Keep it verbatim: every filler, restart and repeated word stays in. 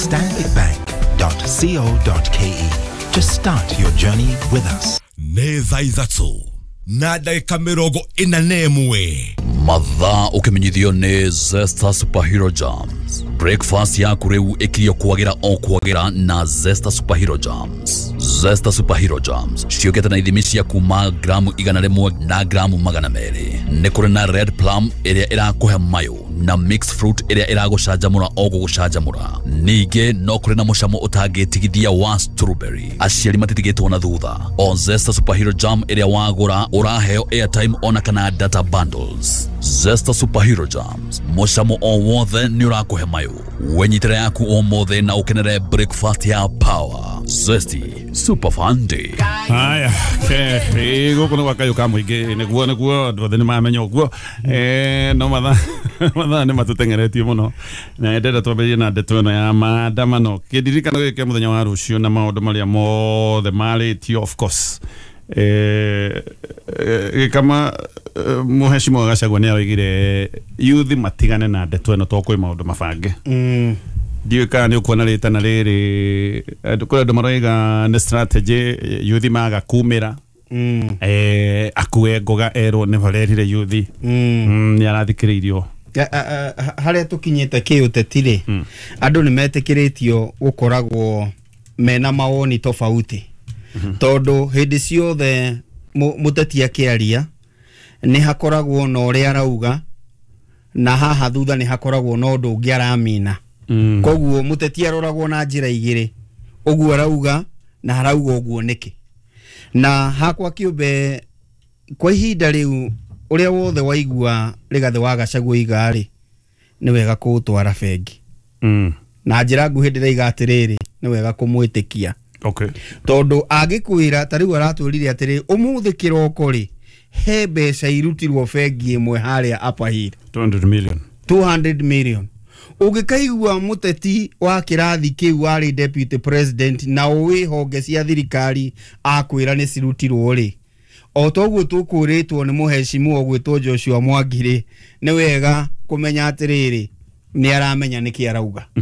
stanbicbank dot co dot K E to start your journey with us. Nĩ thaa ithatũ na ndagĩka mĩrongo ĩna na ĩmwe. Mathaa ũkĩmenyithio nĩ Zesta Superhero Jams. Breakfast yaku rĩu ĩkirio kwagĩra o kwagĩra na Zesta Superhero Jams. Zesta Superhero Jams ciũkĩte na ithimi cia kuma gramu igana rĩmwe na gramu magana merĩ. Nĩ kũrĩ na red plum ĩrĩa ĩrakũhe mayũ na mixed fruit ĩrĩa ĩragũcanjamũra o gũgũcanjamũra. Ningĩ no kũrĩ na mũcamo ũtangĩtigithia wa strawberry. Aciari matitigĩtwo na thutha. O Zesta Superhero Jam ĩrĩa wagũra, ũraheo airtime ona kana data bundles. Zesta Superhero Jams, mũcamo o wothe nĩ ũrakũhe mayũ. Wenyitĩre yaku ũmũthĩ na ũkenere breakfast ya power. Zesty Super Fun Day. Haya, ke gũkũ nĩ gwa kayũ ka mũingĩ. Nĩguo nĩguo andũ othe nĩ mamenya ũguo. Eh, no mathaa mathaa nĩ matũteng'eretie mũno na ndenda twambĩrĩrie na ndeto ĩno ya maandamano, kĩndirikano gĩkĩ kĩa mũthenya wa rũciũ na maũndũ marĩa mothe marĩtio. Of course, eh, eh, gĩkama eh, mũhecimo Gachagua nĩ aroigire youth matigane na ndeto ĩno to kwĩ maũndũ mabange. Mm. Ndiũĩ kana nĩ ũkuona rĩtana rĩrĩ. Andũ, kũrĩ andũ maroiga nĩ strategy youth maga kumĩra. Mm. eh, akue ngoga erwo nĩ barerire youth. Mm. mm, nĩ arathikĩrĩirio. A- a- a- harĩa tũkinyĩte kĩũteti rĩ, andũ nĩ metĩkĩrĩtio gũkoragwo mena mawoni tofauti, tondũ hĩndĩ ciothe mũ- mũteti akĩaria nĩ hakoragwo na ũrĩa arauga na haha thutha nĩ hakoragwo na ũndũ ũngĩ aramina. Mm. Koguo mũteti aroragwo na njĩra igĩrĩ, ũguo arauga na arauga ũguo nĩkĩ. Na hakwa kĩũmbe, kwa ihinda rĩu, ũrĩa wothe waigua Rigathĩ wa Gachagua iga rĩ, nĩ wega kũũtwara bengi. Mm. Na njĩra nguhĩ ndĩraiga atĩrĩrĩ, nĩ wega kũmwĩtĩkia, okay tondũ angĩkwĩra ta rĩu aratwĩrire atĩrĩ, ũmũthĩ kĩroko rĩ, he mbeca irutirwo bengi ĩmwe harĩa Upper Hill. two hundred million. two hundred million. Ũngĩkaigua mũteti wa kĩrathi kĩu warĩ deputy president na ũĩ honge cia thirikari akwĩra nĩ cirutirwo rĩ, o toguo tũkwĩrĩtwo nĩ mũhecimu ũgwĩtwo Joshua Mwangi rĩ, nĩ wega kũmenya atĩrĩrĩ, nĩ aramenya nĩkĩ arauga.